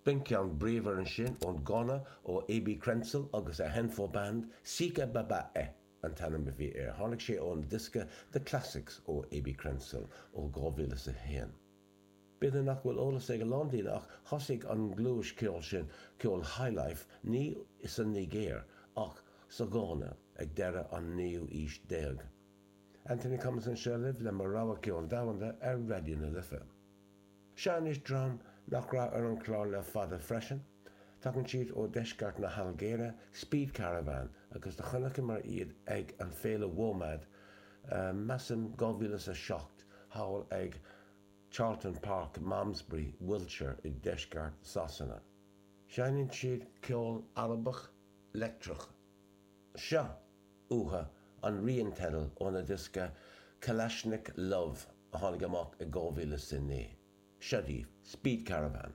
B'in ceann bríomhar ansin ón Gána ó AB Crentsil agus a Ahenfo Band, Sika Baba Eh an t-ainm a bhí air. Tháinig sé ón diosca The Classics ó AB Crentsil ó 2001. B'fhéidir nach bhfuil eolas ag a lán daoine ach thosaigh an ghluais ceoil sin, ceol highlife, ní sa Nigéir ach sa Ghána ag deireadh an naoú aois déag. Anthony Cummins anseo libh le mo rogha ceol domhanda ar Raidió na Life. Seo anois dream nach raibh ar an chlár le fada freisin. Tagann siad ó deisceart na hAilgéire, Speed Caravan, agus do chonaiceamar iad ag an féile WOMAD, measaim 2007, thall ag Charlton Park, Malmesbury, Wiltshire i deisceart Sasana. Seinneann siad ceol Arabach leictreach. Seo uathu an rian teidil óna diosca Kalashnik Love a tháinig amach i 2009. Seo daoibh, Speed Caravan.